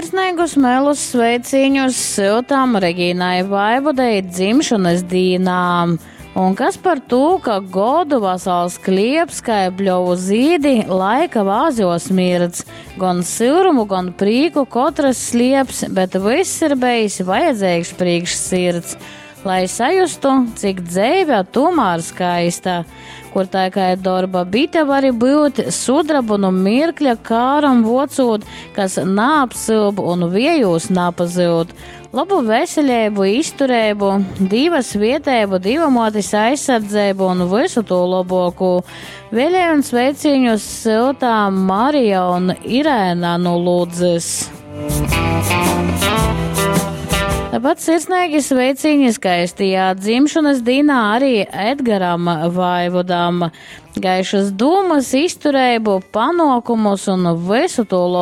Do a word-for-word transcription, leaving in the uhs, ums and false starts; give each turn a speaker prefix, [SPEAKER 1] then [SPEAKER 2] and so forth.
[SPEAKER 1] Sirsneigus melus sveicīņus syutām Regīnai Vaivodei dzimšanas dīnā. Un kas par to, ka godu vasals klieps, kai bļovu zīdi, laika vāzjos mirdz. Gan syurumu, gan prīku katrs slieps, bet viss ir bejis vajadzīgs priekš sirds, lai sajustu, cik dzeive tomēr skaista, kur tā kā dorba bite vari būt, sudrabu nu mirkļa kāram vocūt, kas naapsilb un viejūs napazyud. Labu veselību, izturību, Dīva svietēbu, Dīva motis aizsardzību un visu to labāko. Vēlēju un sveiciņus siltā Marija un Irēna no Ludzes. Tāpat sirsnīgi sveiciņi skaistajā dzimšanas dienā arī Edgaram Vaivodam. Gaišas dūmas, izturību, panokumus un visu to